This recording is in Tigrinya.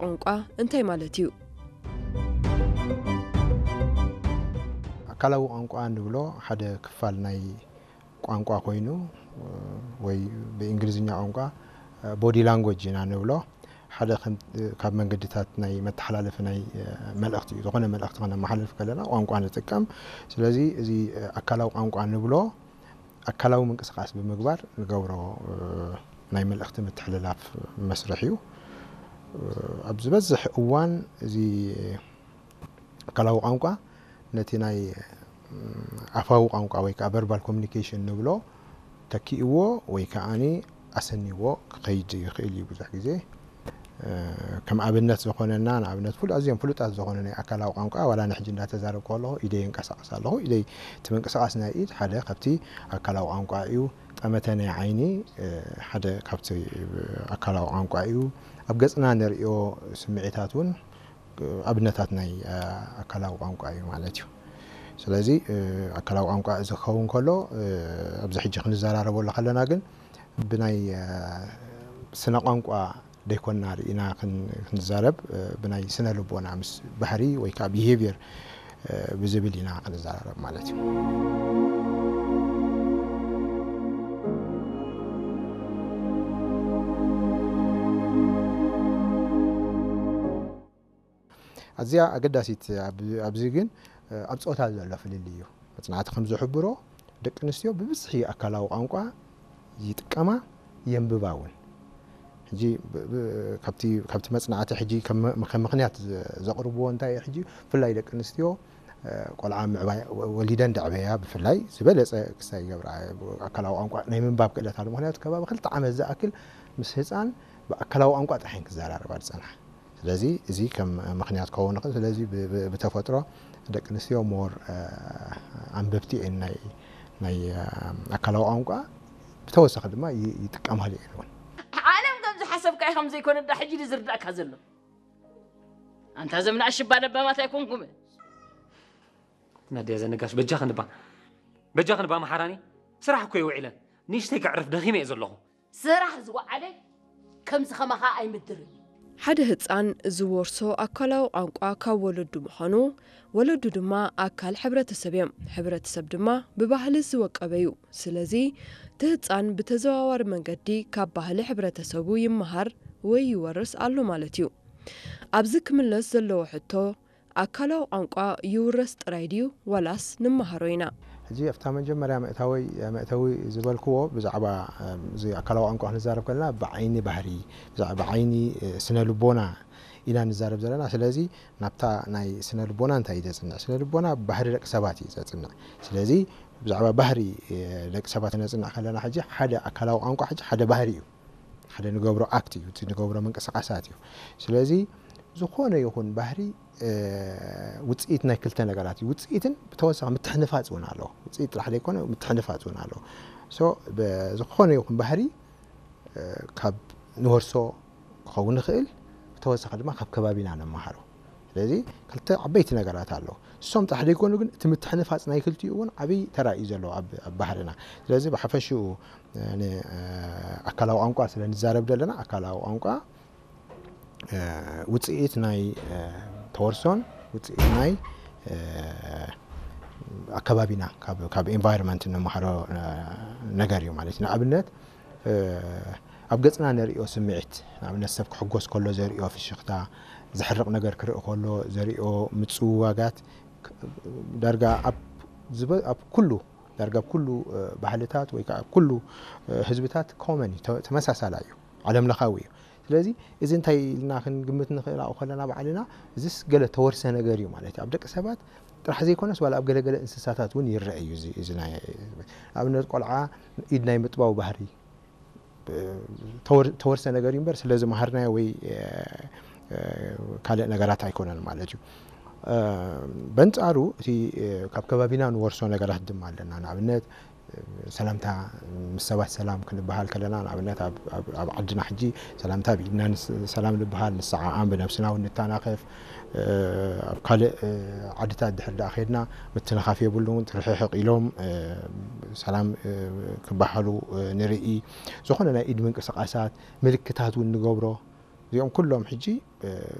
ቋንቋ እንታይ ማለት እዩ? ኣካላዊ ቋንቋ ንብሎ ሓደ ክፋል ናይ ቋንቋ ኮይኑ፣ ወይ ብእንግሊዝኛ ቋንቋ ቦዲ ላንጎጅ ኢና ንብሎ። ሓደ ከም ካብ መንገድታት ናይ መተሓላለፊ ናይ መልእኽቲ እዩ። ዝኾነ መልእኽቲ ከነመሓላልፍ ከለና ቋንቋ ንጥቀም። ስለዚ እዚ ኣካላዊ ቋንቋ ንብሎ ኣካላዊ ምንቅስቃስ ብምግባር ንገብሮ ናይ መልእኽቲ ምትሕልላፍ መስርሕ እዩ። ኣብ ዝበዝሕ እዋን እዚ ኣካላዊ ቋንቋ ነቲ ናይ ኣፋዊ ቋንቋ ወይ ከዓ ቨርባል ኮሚኒኬሽን ንብሎ ተኪእዎ ወይ ከዓኒ ኣሰኒዎ ክኸይድ ይኽእል እዩ። ብዙሕ ግዜ ከም ኣብነት ዝኾነና ንኣብነት ፍሉ ኣዝዮም ፍሉጣት ዝኾኑ ናይ ኣካላዊ ቋንቋ ዋላ ንሕጂ እንዳተዛረብ ከለኹ ኢደይ የንቀሳቕስ ኣለኹ። ኢደይ እቲ ምንቅስቃስ ናይ ኢድ ሓደ ካብቲ ኣካላዊ ቋንቋ እዩ። ጠመተ ናይ ዓይኒ ሓደ ካብቲ ኣካላዊ ቋንቋ እዩ። ኣብ ገጽና ንርእዮ ስምዒታት እውን ኣብነታት ናይ ኣካላዊ ቋንቋ እዩ ማለት እዩ። ስለዚ ኣካላዊ ቋንቋ እዚ ክኸውን ከሎ ኣብዚ ሕጂ ክንዘራረበሉ ከለና ግን ብናይ ስነ ቋንቋ ደይኮና ርኢና ክንዛረብ ብናይ ስነ ልቦና ምስ ባህሪ ወይ ከዓ ቢሄቪየር ብዝብል ኢና ክንዘራረብ ማለት እዩ። ኣዝያ ኣገዳሲት ኣብዚ ግን ኣብ ፆታ ዘሎ ፍልልይ እዩ። መፅናዕቲ ከም ዝሕብሮ ደቂ ኣንስትዮ ብብዝሒ ኣካላዊ ቋንቋ ይጥቀማ የንብባ እውን። ሕጂ ካብቲ መፅናዕቲ ሕጂ ከም ምክንያት ዘቕርብዎ እንታይ ሕጂ ብፍላይ ደቂ ኣንስትዮ ቆልዓ ምዕባይ ወሊደን ደዕበያ ብፍላይ ዝበለፀ ክስታይ ይገብራ ኣካላዊ ቋንቋ ናይ ምንባብ ክእለት ኣሎ። ምክንያቱ ከባቢ ክልተ ዓመት ዝኣክል ምስ ህፃን ብኣካላዊ ቋንቋ ጥራሕን ክዘራረባ ዝፀንሓ። ስለዚ እዚ ከም ምክንያት ክኸውን ይኽእል። ስለዚ ብተፈጥሮ ደቂ ኣንስትዮ ሞር ኣንበብቲ እየን ናይ ኣካላዊ ቋንቋ። ብተወሳኺ ድማ ይጥቀማሉ እየን እውን። ዓለም ከም ዝሓሰብካዮ ከም ዘይኮነ ዳ ሕጂ ዝርዳእካ ዘሎ። ኣንታ ዘምና ኣሽባ ለባማት ኣይኮንኩም። ናድያ ዘነጋሽ በጃ ክንባ በጃ ክንባ መሓራኒ ስራሕ እኮ ይውዒለን ንእሽተይ ከዕርፍ ደኺመ እየ ዘለኹ። ስራሕ ዝወዓለ ከምዚ ከማኻ ኣይምድርን። ሓደ ህፃን ዝወርሶ ኣካላዊ ቋንቋ ካብ ወለዱ ምዃኑ፣ ወለዱ ድማ ኣካል ሕብረተሰብ እዮም። ሕብረተሰብ ድማ ብባህሊ ዝወቀበ እዩ። ስለዚ እቲ ህፃን ብተዘዋዋሪ መንገዲ ካብ ባህሊ ሕብረተሰቡ ይመሃር ወይ ይወርስ ኣሎ ማለት እዩ። ኣብዚ ክምለስ ዘለዎ ሕቶ ኣካላዊ ቋንቋ ይውረስ ጥራይ ድዩ ዋላስ ንመሃሮ ኢና? ሕጂ ኣብታ መጀመርያ መእታወይ መእተዊ ዝበልክዎ ብዛዕባ እዚ ኣካላዊ ቋንቋ ክንዛረብ ከለና ብዓይኒ ባህሪ ብዛዕባ ዓይኒ ስነ ልቦና ኢና ንዛረብ ዘለና። ስለዚ ናብታ ናይ ስነ ልቦና እንታይ እዩ ዘፅንዕ? ስነ ልቦና ባህሪ ደቂ ሰባት እዩ ዘፅንዕ። ስለዚ ብዛዕባ ባህሪ ደቂ ሰባት ነፅንዕ ከለና ሕጂ ሓደ ኣካላዊ ቋንቋ ሕጂ ሓደ ባህሪ እዩ። ሓደ ንገብሮ ኣክት እዩ፣ እቲ ንገብሮ ምንቅስቃሳት እዩ። ስለዚ ዝኾነ ይኹን ባህሪ ውፅኢት ናይ ክልተ ነገራት እዩ። ውፅኢትን ብተወሳኺ ምትሕንፋፅ እውን ኣለዎ። ውፅኢት ጥራሕ ዘይኮነ ምትሕንፋፅ እውን ኣለዎ። ሶ ዝኾነ ይኹን ባህሪ ካብ ንወርሶ ክኸውን ይኽእል፣ ብተወሳኺ ድማ ካብ ከባቢና ንመሃሮ። ስለዚ ክልተ ዓበይቲ ነገራት ኣለዉ። እሶም ጥራሕ ዘይኮኑ ግን እቲ ምትሕንፋፅ ናይ ክልቲኡ እውን ዓብዪ ተራ እዩ ዘለዎ ኣብ ባህርና። ስለዚ ብሓፈሽኡ ኣካላዊ ቋንቋ ስለ ንዛረብ ዘለና ኣካላዊ ቋንቋ ውፅኢት ናይ ተወርሶን ውፅኢት ናይ ኣከባቢና ካብ ኤንቫይሮንመንት እንመሃሮ ነገር እዩ ማለት እዩ። ንኣብነት ኣብ ገፅና ነርእዮ ስምዒት ንኣብነት ሰብ ክሕጎስ ከሎ ዘርእዮ ፍሽኽታ፣ ዝሕርቕ ነገር ክርኢ ከሎ ዘርእዮ ምፅውዋጋት ዳርጋ ኣብ ኩሉ ዳርጋ ኣብ ኩሉ ባህልታት ወይ ከዓ ኣብ ኩሉ ህዝብታት ኮመን እዩ፣ ተመሳሳላ እዩ፣ ዓለም ለኻዊ እዩ። ስለዚ እዚ እንታይ ኢልና ክንግምት ንኽእል ኣብኡ ከለና ባዕልና እዚስ ገለ ተወርሰ ነገር እዩ ማለት እዩ። ኣብ ደቂ ሰባት ጥራሕ ዘይኮነስ ዋላ ኣብ ገለገለ እንስሳታት እውን ይረአ እዩ። እዚ ናይ ኣብነት ቆልዓ ኢድ ናይ ምጥባው ባህሪ ተወርሰ ነገር እዩ እምበር ስለ ዝመሃርናዮ ወይ ካልእ ነገራት ኣይኮነን ማለት እዩ። በንጻሩ እቲ ካብ ከባቢና ንወርሶ ነገራት ድማ ኣለና። ንኣብነት ሰላምታ ምስ ሰባት ሰላም ክንበሃል ከለና ንኣብነት ኣብ ዓድና ሕጂ ሰላምታ ብኢድና ሰላም ንበሃል፣ ንሰዓዓም፣ ብነብስና እውን ንተናኸፍ። ኣብ ካልእ ዓድታት ድሕር ደኣ ከድና ምትንኻፍ የብሉን፣ ትርሕሕቕ ኢሎም ሰላም ክበሃሉ ንርኢ። ዝኾነ ናይ ኢድ ምንቅስቃሳት ምልክታት እውን ንገብሮ። እዚኦም ኩሎም ሕጂ